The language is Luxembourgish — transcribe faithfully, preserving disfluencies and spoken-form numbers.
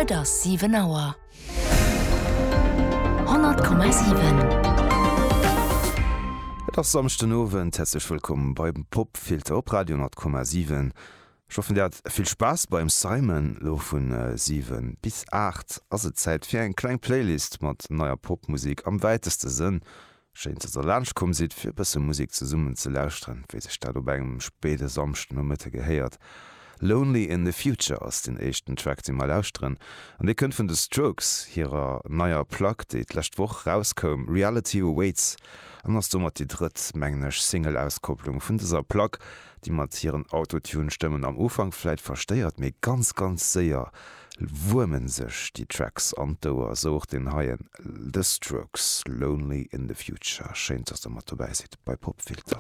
Et ass siwen Auer. Honnert Komma siwen. Et ass Samschden Owend, häerzlech wëllkomm beim Popfilter op Radio honnert Komma siwen. Ech hoffen dir hat vill Spaass beim Simon. Lo vun siwen bis aacht ass et Zäit fir eng kleng Playlist mat neier Popmusek am wäiteste Sënn. Schéin dass der laanscht komm sidd fir e bësse Musek zesummen ze lauschteren, wéi sech dat op engem spéide Samschdenomëtte gehéiert. Lonely in the Future ass den éischten Track dee mer lauschteren an dee kënnt vun The Strokes hirer neier Plack déi d'lescht Woch rauskoum, Reality Awaits, an ass domat déi drëtt, mengen ech, Single-Auskopplung vun dëser Plack, déi mat hiren Autotune-Stëmmen am Ufank vläit verstéiert, mee ganz ganz séier wuermen sech déi Tracks an d'Ouer, sou och deen heien, The Strokes, Lonely in the Future. Schéin dass der mat dobäi sidd bei Popfilter.